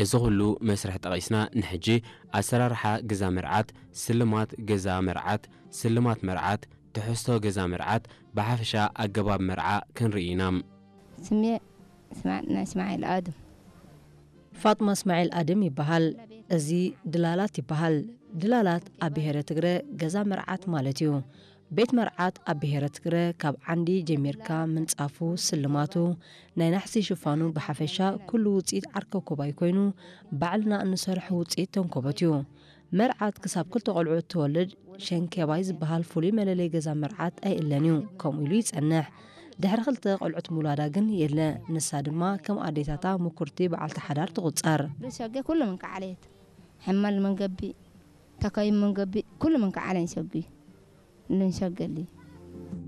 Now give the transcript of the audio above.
እዚ ኩሉ መስርሕ ጠቒስና ንሕጂ ኣሰራርሓ ገዛ መርዓት፣ ስልማት ገዛ መርዓት፣ ስልማት መርዓት፣ ትሕዝቶ ገዛ መርዓት፣ ብሓፈሻ ኣገባብ መርዓ ክንርኢ ኢና። ስሜ ስማዕ ናይ እስማዒል ኣድም ፋጥማ እስማዒል ኣድም ይበሃል። እዚ ድላላት ይበሃል። ድላላት ኣብ ብሄረ ትግረ ገዛ መርዓት ማለት እዩ። ቤት መርዓት ኣብ ብሄረ ትግረ ካብ ዓንዲ ጀሚርካ ምንፃፉ፣ ስልማቱ፣ ናይ ናሕሲ ሽፋኑ ብሓፈሻ ኩሉ ውፅኢት ዓርከኮባይ ኮይኑ ባዕልና እንሰርሖ ውፅኢት ተንኮበት እዩ። መርዓት ክሳብ ክልተ ቆልዑ እትወልድ ሸንኬባይ ዝበሃል ፍሉይ መለለይ ገዛ መርዓት ኣይእለን እዩ። ከምኡ ኢሉ ይፀንሕ። ድሕሪ ክልተ ቆልዑት ምውላዳ ግን የለ። ንሳ ድማ ከም ኣዴታታ ምኩርቲ በዓልቲ ሓዳር ትቑፀር። ዱሰገ ኩሉ ምን ከዓለየት ሕመል ምን ገቢ ተከይም ምን ገቢ ኩሉ ምን ከዓለኝ ሰጉ ልን ሰገሊ